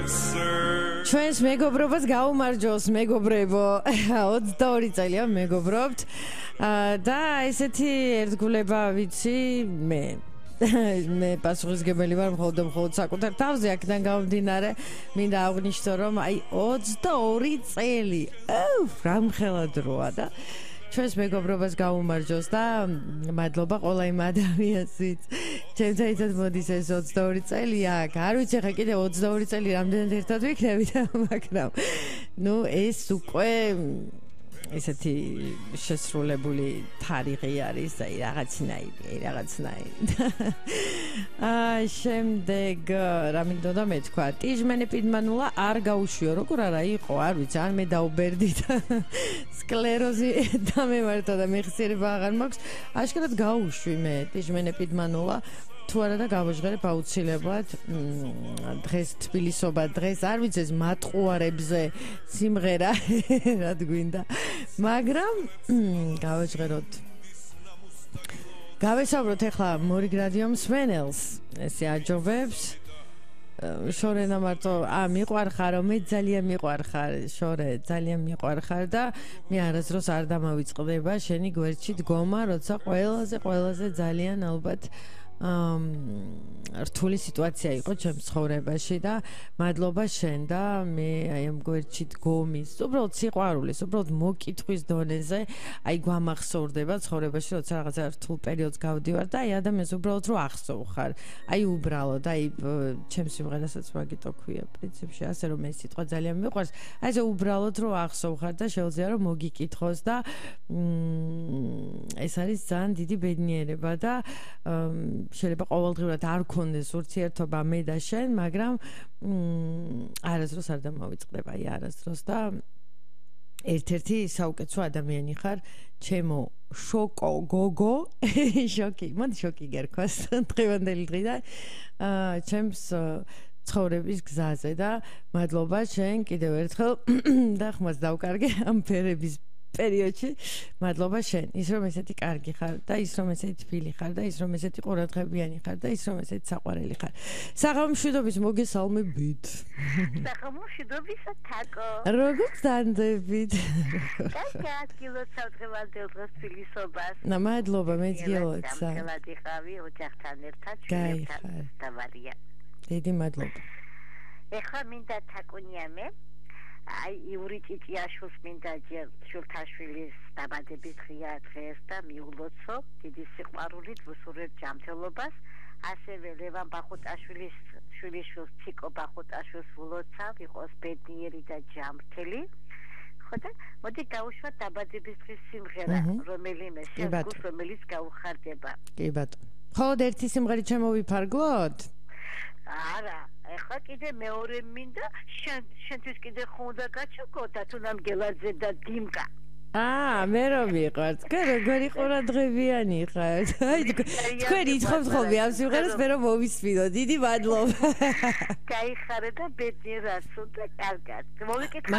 ჩვენს მეგობრობას გაუმარჯოს მეგობრებო 22 წელია მეგობრობთ და ესეთი ერთგულება ვიცი მე პასუხისგებელი ვარ მხოლოდ საკუთარ თავზე აქედან გამომდინარე მინდა აღვნიშნო რომ აი 22 წელი რა მხელა დროა და ჩვენს მეგობრობას გაუმარჯოს და მადლობა ყველა იმ ადამიანს ვინც ჩემთან ერთად მოდის ეს 22 წელია არ ვიცი ხა კიდე 22 წელი რამდენად ერთად ვიქნებით მაგრამ ნუ ეს უკვე ესეთი შესრულებული თარიღი არის და რაღაცნაირი შემდეგ რა მინდოდა მეთქვა ტიჟმენე პიდმანულა არ გაუშვიო როგორ არა იყო არ ვიცი ან მე დაუბერდი და სკლეროზი დამემართა და მეხსიერება აღარ მაქვს აშკარად გაუშვი მე ტიჟმენე პიდმანულა თუ არა და გავაჟღერებ აუცილებლად დღეს თბილისობა დღეს არ ვიცი ეს მატყუარებზე სიმღერა რა გვინდა მაგრამ გავესაუბროთ ახლა მორიგრადიო მსმენელს ესე აჯობებს შორენა მარტო მიყვარხარ მე ძალიან მიყვარხარ შორე ძალიან მიყვარხარ და მე არასდროს არ დამავიწყდება შენი გვერდში დგომა როცა ყველაზე ძალიან ალბათ რთული სიტუაცია იყო ჩემს ცხოვრებაში და მადლობა შენ და მე აი ამ გვერდში დგომის უბრალოდ სიყვარულის უბრალოდ მოკითხვის დონეზე აი გვამახსოვრდება ცხოვრებაში როცა რაღაცა რთულ პერიოდს გავდივარ და აი ადამიანს უბრალოდ რო ახსოვხარ აი უბრალოდ აი ჩემს სიმღერასაც მაგიტო ქვია პრინციპში ასე რომ ეს სიტყვა ძალიან მიყვარს აი ეს უბრალოდ რო ახსოვხარ და შეუძლია რომ მოგიკითხოს და ეს არის ძალიან დიდი ბედნიერება და შეიძლება ყოველდღიურად არ გქონდეს ურთიერთობა მე და შენ, მაგრამ არასდროს არ დამავიწყდება, არასდროს და ერთ-ერთი საუკეთესო ადამიანი ხარ, ჩემო შოკო გოგო, მოდი შოკი გერქვას დღევანდელი დღიდან, ჩემს ცხოვრების გზაზე და მადლობა შენ კიდევ ერთხელ და ხმას დავკარგე ამ ფერების პერიოდში მადლობა შენ ის რომ ესეთი კარგი ხარ და ის რომ ესეთი თბილი ხარ და ის რომ ესეთი ყურადღებიანი ხარ და ის რომ ესეთი საყვარელი ხარ საღამომშვიდობის მოგესალმებით საღამომშვიდობის თაკო როგორ გძანდებით გილოცავ დღევანდელ დღეს თბილისობას მადლობა მე გილოცა გამხელადი ხავი ოჯახთან ერთად შევეცარ დავარია დიდი მადლობა ეხლა მინდა თაკუნიამე აი იური ჭიჭიაშვილს მინდა ჯერ შვილთაშვილის დაბადების დღეა დღეს და მიულოცო დიდი სიყვარულით ვუსურვებ ჯანმრთელობას ასევე ლევან ბახუტაშვილის შვილიშვილს ციკო ბახუტაშვილს ვულოცავ იყოს ბედნიერი და ჯანმრთელი ხო და მოდი გავუშვათ დაბადების დღის სიმღერა რომელიმე შეგუს რომელიც გაუხარდება კი ბატონო ხოლოდ ერთი სიმღერით შემოვიფარგლოთ არა ეხლა კიდე მეორე მინდა შენთვის კიდე ხუნდა გაჩოკოთა თუნდაც გელაძე და დიმკა მე რომ მიყვარს როგორი ყურადღებიანი ხარ აი თქვენ ითხოვთ ხოლმე ამ სიმღერას მე რომ მოვისმინო დიდი მადლობა გაიხარე და ბედნიერად სულ და კარგად მოვიკითხე